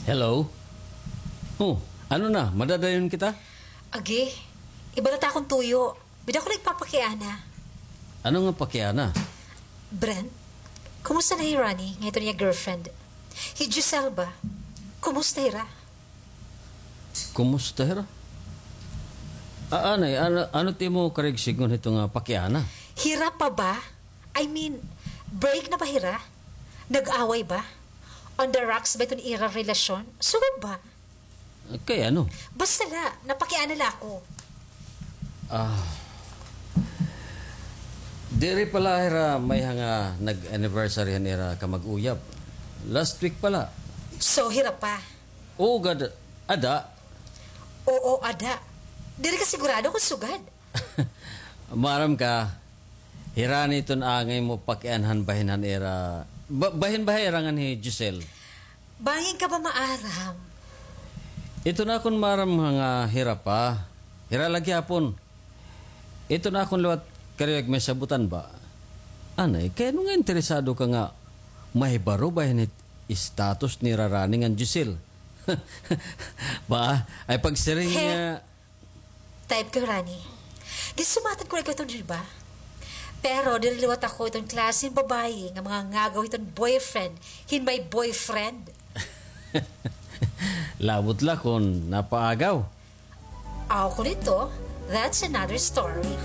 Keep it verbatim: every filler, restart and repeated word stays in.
Hello? Oh, ano na? Madadayon kita? Agi, iba na ta akon tuyo. Bida ko nagpapakiana. Ano nga pakiana? Brent, kumusta na hi Ronnie, nga iton iya girlfriend? Hi Giselle ba? Kumusta hira? Kumusta hira? Ah, anay, ano, ano it imo karuyag sidngon hito nga pakiana? Hira pa ba? I mean, break na ba hira? Nag-away ba? On the rocks ba iton ira relasyon? Sugad ba? Kay ano? Basta la, napakiana la ako. Ah. Diri pa la hira mayha nga nag-anniversary han ira kamag-uyab. Last week pa la. So, hira pa? Oo gad, ada. Oo, ada. Diri ka sigurado kon sugad? Maaram ka, hira ini iton angay mo pakianhan bahin han ira, ba-, bahin ba ha ira ngan hi Giselle? Bangin ka ba maaram? Iton akon maaram nga hira pa. Hira la gihapon. Iton akon liwat karuyag mahisabotan ba? Anay, kay ano nga interesado ka nga mahibaro bahin hit status nira Ronnie ngan Giselle? Ba, ay pagsiring He. nga Type ko, Ronnie. Ginsumatan ko na ikaw iton, di ba? Pero diri liwat ako iton klase hin babaye nga mangangagaw hiton boyfriend hin may boyfriend. Labot la kon napaagaw. Aw, kon ito, that's another story.